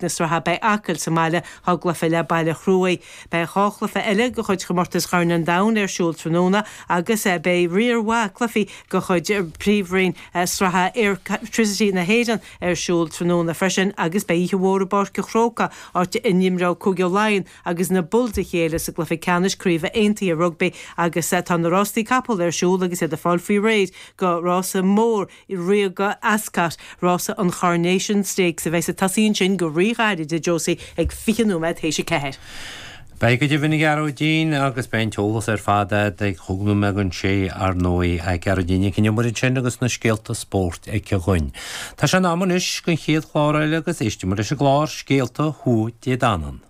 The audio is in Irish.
Na sraithe beidh Acaill sa mbaile dhá gcluiche le Baile Chruaich. Beidh 2 chluiche eile de chuid Chomórtas Chorn an Domhain ar siúl tráthnóna agus beidh riar mhaith cluichí de chuid Príomhroinn Sraithe Airtricity na hÉireann ar siúl tráthnóna freisin agus beidh oíche mhór i bPáirc an Chrócaigh áit a n-imreoidh Cúige Laighean agus na Bulls a chéile sa gcluiche ceannais craoibhe aontaithe rugbaí agus tá na rástaí capall ar siúl agus iad ag fáil faoi réir do rása mór Ríoga Ascot, rása an Choronation Stakes a bheas ag tosaí ansin go rí-ghairid, a Josie, ag 20 nóiméad théis 4. Beidh go deimhin, a Ghearóidín, agus beidh an t-eolas ar fad agat ag chúig nóiméad don sé, ar ndóigh. A Ghearóidín Nic an Iomaire ansin agus na scéalta spóirt aici dhúinn. Tá sé in am anois don chéad chlár eile agus éistfidh muid leis an gclár Scéalta Thuath Dé Danann.